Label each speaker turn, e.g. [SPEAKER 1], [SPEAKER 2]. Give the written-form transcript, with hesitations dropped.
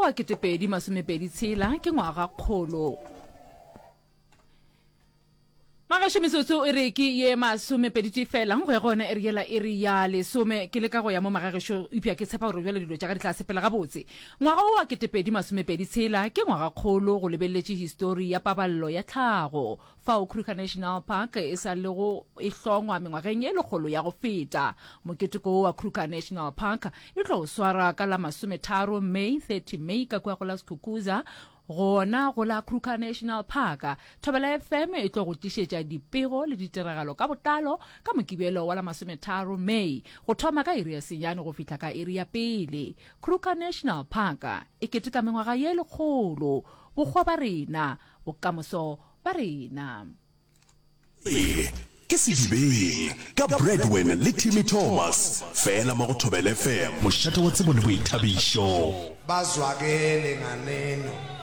[SPEAKER 1] wa 2026 ke ngwagakgolo. Magašo metsotso e re ke ye masomepeditee fela go ya go yona iri yela iri ya lesome. Ke leka go ya mo magagešo eupša ke tshepa gore bjale dilo tša ka di tla sepela gabotse. Ngwaga wo wa 2026 ke ngwagakgolo go lebeleletše histori ya paballo ya tlhago fao Kruger National Park e sa lego e hlongwa mengwageng ye lekgolo ya go feta. Moketeko wo wa Kruger National Park e tlo swarwa ka la masometharo May, 30 May, ka kua go la Skukuza Gona go la Kruger National Park, Thobela FM e tlo go tlišetša dipego le ditiragalo ka botlalo ka Mokibelo wa la masometharo May go thoma ka iri ya senyane go fihla ka iri ya pele. Kruger National Park e keteka mengwaga ye lekgolo. Bokgwa ba rena, bokamoso ba rena.
[SPEAKER 2] Se ke Sedibeng ka Bradwin le Timmy Thomas, fela mo go Thobela FM, mošate wa tsebo le boithabišo.
[SPEAKER 3] Bazwakele nganeno.